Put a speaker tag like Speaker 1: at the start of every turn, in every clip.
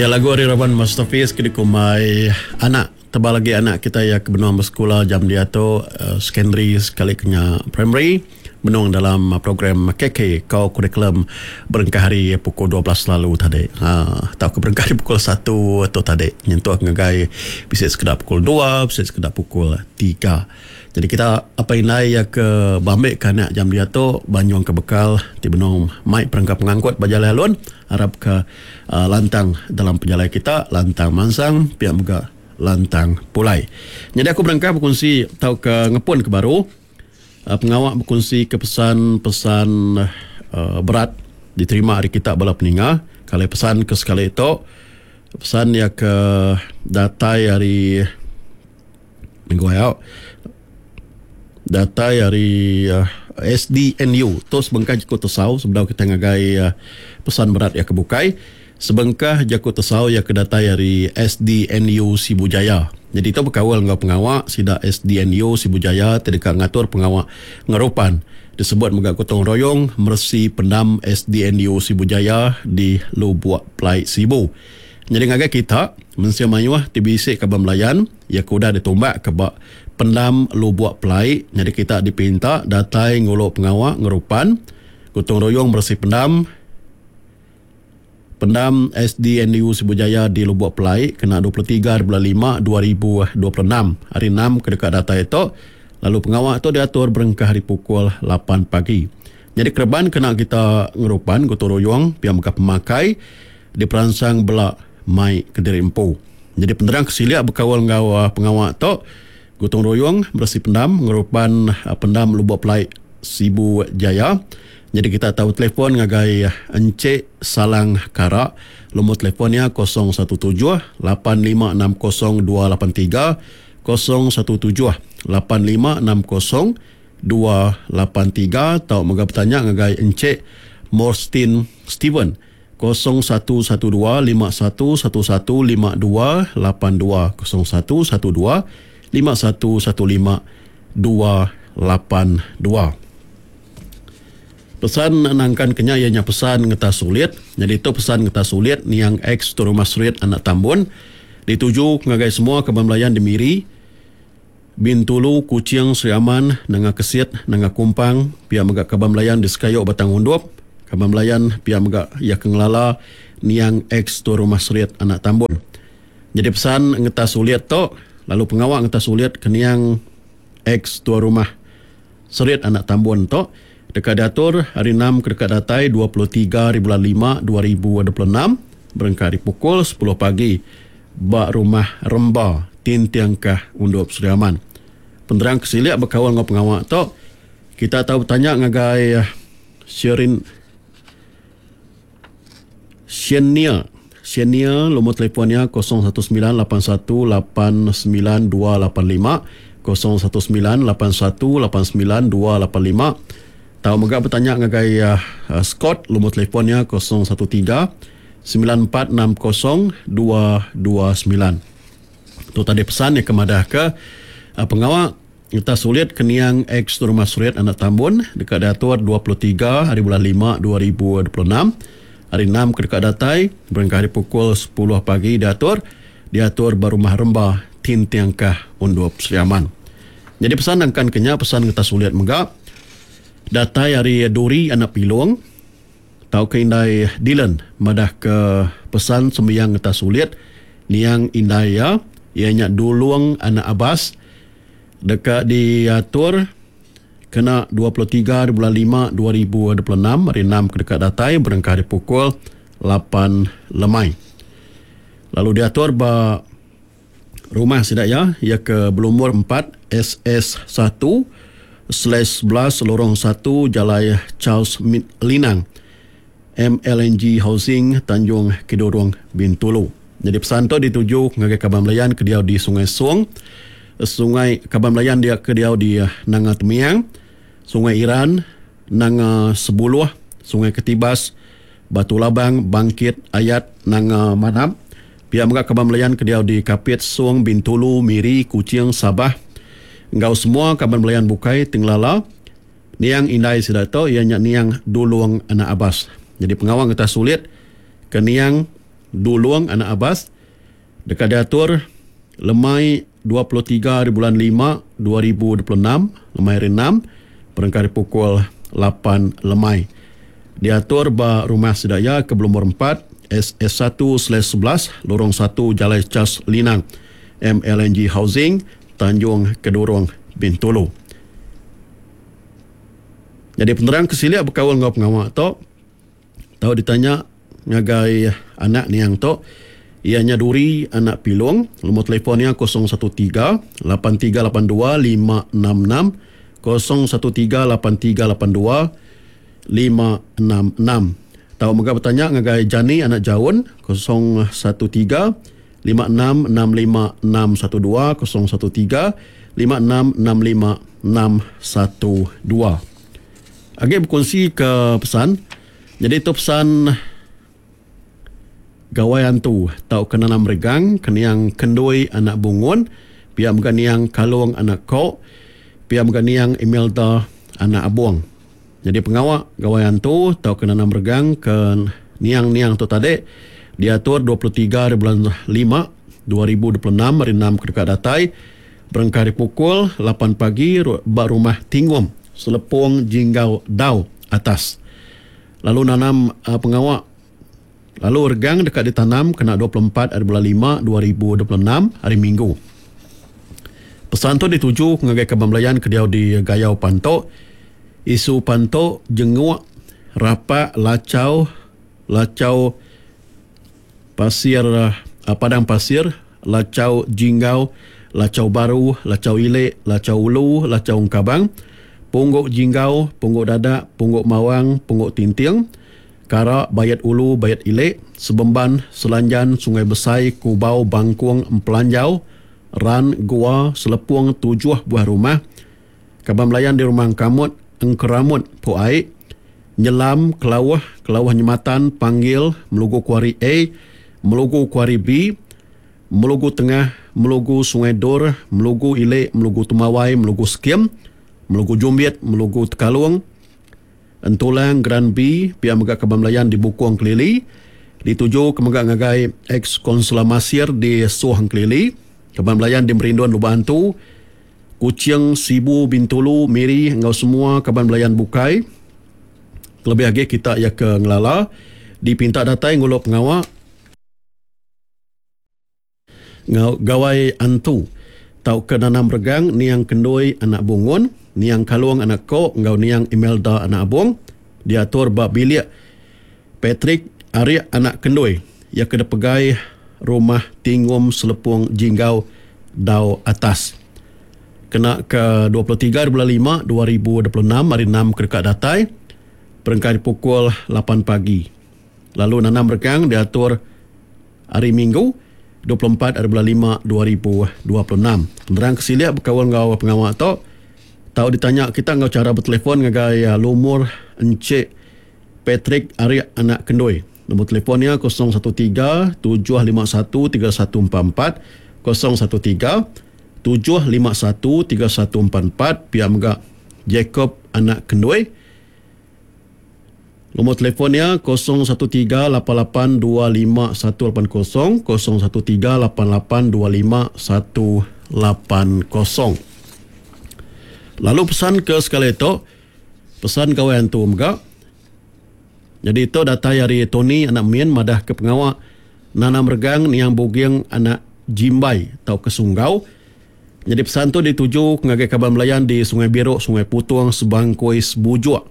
Speaker 1: Iya lagu ari raban Masterpiece ke dikumbai Anak. Tebal agi anak kitai iya ke benung besekula jam diatu secondary sekali ke nya primary benung dalam program KK Co-Curriculum berengkah ari pukul 12 lalu tadi aaa tauka berengkah ari pukul satu tu tadi nyentuk ngagai bisi sekeda pukul dua bisi sekeda pukul tiga. Jadi kita apai indai iya ke beambi ke anak jam diatu banyung ke bekal ti benung mai perengka pengangkut ba jalai alun arap ke aaa lantang dalam pejalai kita lantang mansang pia mega lantang pulai. Nyadi aku berengkah bekunsi tauka ngepun ke baru aaa pengawa bekunsi ke pesan pesan aaa berat diterima ari kita bala peninga kalai pesan ke sekali tu pesan iya ke datai ari. Minggu ayo datai ari SDNU tu sebengkah jaku tesau sebedau kita ngagai pesan berat iya ke bukai. Sebengkah jaku tesau iya ke datai ari SDNU Sibu Jaya. Nyadi tu bekaul enggau pengawa sida SDNU Sibu Jaya ti deka ngatur pengawa ngerupan disebut mega gotong royong meresi pendam SDNU Sibu Jaya di Lubuk Pelai Sibu. Nyadi ngagai kita, mensia mayuh ti bisi kaban belayan, iya ke udah ditumbakka ba Pendam Lubuk Pelai, nyadi kita dipinta datai ngulu pengawa ngerupan Gotong Royong Meresi Pendam Pendam SDNU Sibu Jaya di Lubuk Pelai kena 23 hari bulan lima 2026, hari enam ke deka datai tu, lalu pengawa tu diatur berengkah ari pukul lapan pagi. Nyadi kereban kena kita ngerupan Gotong Royong pia mega pemakai, Diperansang bela mai kediri empu. Nyadi penerang ke silik bekaul enggau pengawa tu, Gotong Royong Beresi Pendam ngerupan Pendam Lubok Pelai Sibu Jaya. Nyadi kita tau telefon ngagai Encik Salang Kara, lumur telefon iya 017 8560 283, 017 8560 283 tau mega betanya ngagai Encik Morstin Steven. 0112 51 11 52 82 01 12 51 15 282. Pesan nangkan ke nya iya nya pesan ngetas sulit. Nyadi tu pesan ngetas sulit niang ex Tuan Rumah Serit anak Tambun dituju ngagai semua kaban belayan di Miri, Bintulu, Kuching, Sri Aman, Nanga Kesit, Nanga Kumpang, pia mega kaban belayan di Sekayu Batang Undup, kaban belayan pia mega iya ke ngelala niang ex Tuai Rumah Serit anak Tambun. Nyadi pesan ngetas ulit tu lalu pengawa ngetas ulit ke niang ex Tuai Rumah Serit anak Tambun tu deka diatur hari enam ke deka datai 23 hari bulan lima 2026 berengkah ari pukul sepuluh pagi. Ba Rumah Remba, Tintingkah Undup Sri Aman. Penerang ke silik bekaul enggau pengawa tu, kita tau betanya ngagai Sherin Shenia. Shenia lumur telefon iya 019 81 89 285, 019 81 89 285. Tau mega betanya ngagai Scott lumur telefon iya 013 9460 229. Tu tadi pesan iya ke madahka pengawa ngetas ulit ke niang ex Rumah Serit Anak Tambun deka diatur 23 hari bulan lima 2026 hari enam ke deka datai berengkah ari pukul sepuluh pagi diatur diatur ba Rumah Remba Tintingkah Undup Sri Aman. Nyadi pesan nangkan ke nya pesan ngetas ulit mega datai ari Duri Anak Pilong. Tauka indai Dylan madahka pesan sembiang ngetas ulit niang indai iya, iya nya Dulung anak Abas deka diatur kena 23 hari bulan lima 2026 hari enam ke deka datai berengkah ari pukul lapan lemai. Lalu diatur ba Rumah sida iya, iya ke belumur empat SS satu slash 11 Lorong satu Jalai Charles Linang, MLNG Housing, Tanjung Kidurong, Bintulu. Nyadi pesan tu dituju ngagai kaban belayan ke diau di Sungai Song, Sungai kaban belayan dia ke diau di Nanga Temiang, Sungai Iran, Nanga Sebuluh, Sungai Ketibas, Batu Labang, Bangkit, Ayat, Nanga Manap. Pia mega kaban belayan ke diau di Kapit, Song, Bintulu, Miri, Kuching, Sabah enggau semua kaban belayan bukai ti ngelala niang indai sida tu iya nya niang Dulung anak Abas. Nyadi pengawa ngetas ulit ke niang. Dulong anak Abas deka diatur lemai 23 hari bulan lima 2026 lemai hari enam berengkah ari pukul lapan lemai. Diatur ba rumah sida iya ke belumur empat SS1/11 Lorong satu Jalai Charles Linang MLNG Housing Tanjung Kedurong Bintulu. Nyadi penerang ke silik bekaul enggau pengawa tu tau ditanya ngagai anak niang tu iya nya Duri anak Pilong lumur telefon iya 013 8382 566 013 8382 566. Tau mega betanya ngagai Jani anak Jaun 013 5665 612 013 5665 612. Agi bekunsi ke pesan. Nyadi tu pesan Gawai Antu tauka Nanam Regang ke niang Kendui anak Bungun, pia mega niang Kalong anak Kok, pia mega niang Imelda anak Abong. Nyadi pengawa Gawai Antu tauka Nanam Regang ke niang-niang tu tadi diatur 23 hari bulan lima 2026 hari enam ke deka datai berengkah ari pukul lapan pagi ba Rumah Tingom, Selepong Jinggau Dau Atas. Lalu nanam pengawa lalu regang deka ditanam kena 24 hari bulan lima 2026 hari Minggu. Pesan tu dituju ngagai kaban belayan ke diau di Gayau Panto, Isu Panto, Jenguk, Rapak, Lachau, Lachau Pasir, Padang Pasir, Lachau Jinggau, Lachau Baru, Lachau Ili, Lachau Ulu, Lachau Engkabang, Pungguk Jinggau, Pungguk Dadak, Pungguk Mawang, Pungguk Tinting, Kara, Bayat Ulu, Bayat Ili, Sebemban, Selanjan, Sungai Besai, Kubau, Bangkung, Empelanjau, Ran, Gua, Selepung, Tujuh Buah Rumah, Kaban Belayan di Rumah Engkamut, Engkeramut, Pok Ai, Nyelam, Kelauh, Kelauh Nyematan, Panggil, Melugu Kuari A, Melugu Kuari B, Melugu Tengah, Melugu Sungai Dor, Melugu Ili, Melugu Temawai, Melugu Sekim, Melugu Jumbit, Melugu Tekalung, Entulang, Gran B, pia mega kaban belayan di Bukong Kelili, dituju ke mega ngagai ex-Konsula Masir di Soh Engkelili, kaban belayan di Merindun Lubok Antu, Kuching, Sibu, Bintulu, Miri enggau semua kaban belayan bukai. Kelebih agi kita iya ke ngelala dipinta datai ngulu pengawa enggau Gawai Antu tauka Nanam Regang Niang Kendui anak Bungun, Niang Kalong anak Kok enggau Niang Imelda anak Abong diatur ba bilik Patrick Arik anak Kendui iya ke dipegai Rumah Tingum Selepong Jinggau Dau Atas. Kena ke 23 bulan lima 2026 hari enam ke deka datai berengkah ari pukul lapan pagi. Lalu nanam regang diatur hari Minggu 24 hari bulan lima 2026. Penerang ke silik bekaul enggau pengawa tu tau ditanya kita enggau chara betelefon ngagai lumur Encik Patrick Arik anak Kendui. Nombor telefon iya 013 751 3144, 013 751 3144 pia mega Jacob anak Kendui. Nombor telefon iya 013 88 25 180, 013 88 25 180. Lalu pesan ke sekali tu, pesan gawai antu mega. Nyadi tu datai ari Tony anak Min madah ke pengawa nanam regang niang Buging anak Jimbai tauka Sunggau. Nyadi pesan tu dituju ngagai kaban belayan di Sungai Biruk, Sungai Putung, Sebangkoi, Sebujuk,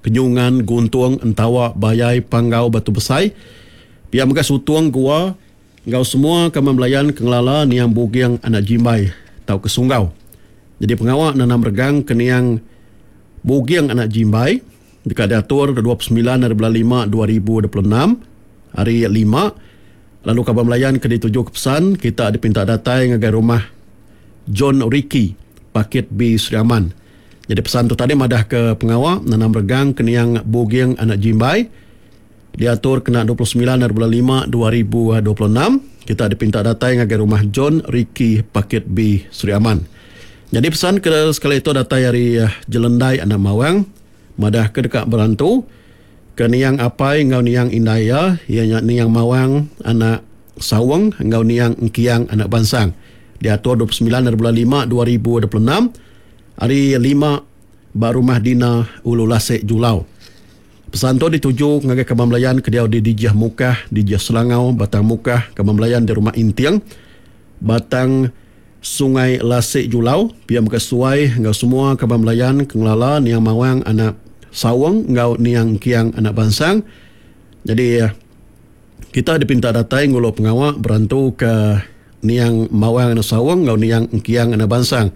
Speaker 1: Kenyungan, Guntung, Entawa, Bayai, Panggau, Batu Besai, pia mega Sutung, Gua enggau semua kaban belayan ke ngelala niang Buging anak Jimbai tauka Sunggau. Nyadi pengawa nanam regang ke niang Buging anak Jimbai deka diatur 29 ari bulan lima 2026, hari Lima. Lalu kaban belayan ke dituju ke pesan, kita dipinta datai ngagai rumah John Ricky, Pakit B Sri Aman. Nyadi pesan tu tadi madah ke pengawa nanam regang ke niang Buging anak Jimbai diatur kena 29 ari bulan lima 2026. Kita dipinta datai ngagai rumah John Ricky, Pakit B Sri Aman. Nyadi pesan ke sekali tu datai ari Jelendai anak Mawang madah ke deka berantu. ke niang apai enggau niang indai iya, iya nya niang Mawang anak Saung enggau niang Engkiang anak Bansang. Diatur 29 hari bulan 5 2026 hari 5 ba Rumah Dina Ulu Lasek Julau. Pesan tu dituju ngagai kaban belayan ke diau di Dijih Mukah, Dijih Selangau, Batang Mukah, kaban belayan di Rumah Inting, Batang Sungai Lasik Julau, pia mega sesuai enggau semua kaban belayan ke ngelala niang Mawang anak Saung enggau niang Engkiang anak Bansang. Nyadi kita dipinta datai ngulu pengawa berantuka niang Mawang anak Saung enggau niang Engkiang anak Bansang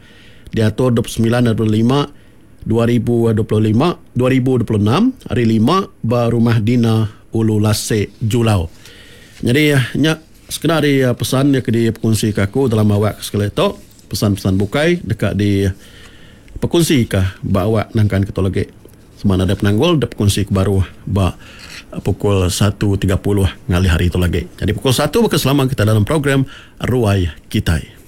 Speaker 1: diatur 29 hari bulan 5 2025, 2026, hari Lima ba Rumah Dina Ulu Lasik, Julau. Nyadi nya sekeda ari pesan ke dipekunsika aku dalam awak ke sekali tu. Pesan-pesan bukai deka dipekunsika ba awak nangkan ke tu lagi. Sema nadai penanggul dep pekungsi ke baru ba pukul 1.30 ngalih hari tu lagi. Nyadi pukul 1 baka selama kita dalam program Ruai Kitai.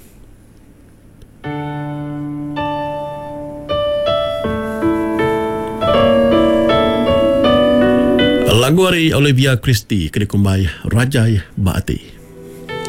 Speaker 1: Lagu ari Olivia Christie ke dikumbai Rajai Ba Ati.